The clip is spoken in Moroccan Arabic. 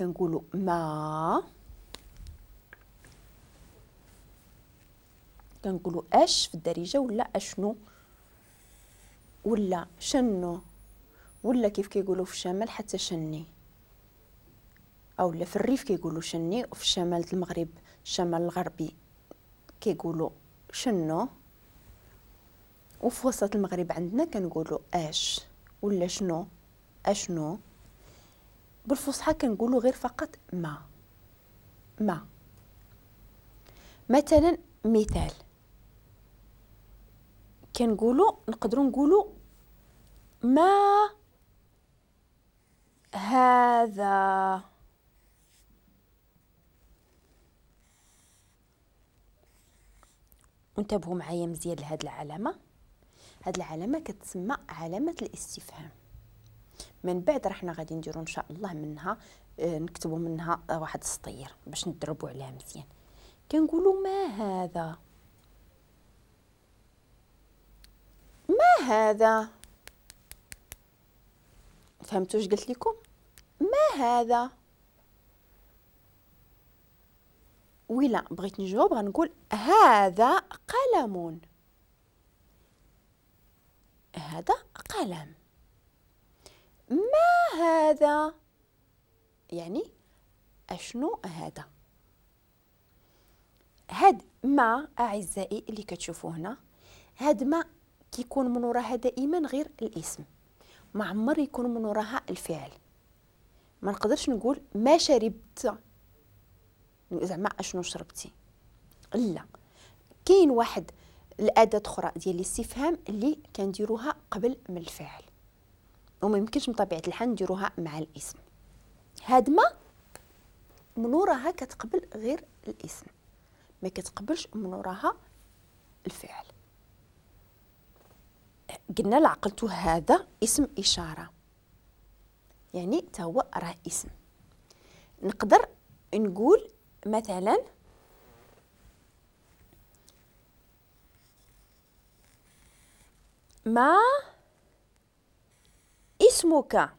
كنقولوا ما، كنقولوا اش في الدارجة، ولا اشنو، ولا شنو، ولا كيف كيقولوا في الشمال حتى شني، او لا في الريف كيقولوا شني، وفي الشمال المغرب الشمال الغربي كيقولوا شنو، وفي وسط المغرب عندنا كنقولوا اش ولا شنو، اشنو. بالفصحى كنقولوا غير فقط ما. ما مثلا مثال كنقولوا، نقدروا نقولوا ما هذا. انتبهوا معايا مزيان لهاد العلامة. هاد العلامة كتسمى علامة الاستفهام. من بعد راه حنا غادي نديرو ان شاء الله منها نكتبوا منها واحد السطير باش ندربوا عليها مزيان. كنقولوا ما هذا، ما هذا. فهمتوا اش قلت لكم؟ ما هذا. ولا بغيت نجاوب غنقول هذا قلم، هذا قلم. ما هذا يعني اشنو هذا. هاد ما اعزائي اللي كتشوفوا هنا، هاد ما كيكون من وراها دائما غير الاسم، ما عمر يكون من وراها الفعل. ما نقدرش نقول ما شربت، زعما اشنو شربتي، لا. كاين واحد الاداة اخرى ديال الاستفهام اللي كنديروها قبل من الفعل، وما يمكنش بطبيعة الحال نديروها مع الاسم. هاد ما من وراها كتقبل غير الاسم، ما كتقبلش من وراها الفعل. قلنا لعقلتو هذا اسم اشارة، يعني تا هو راه اسم. نقدر نقول مثلا ما اسمك،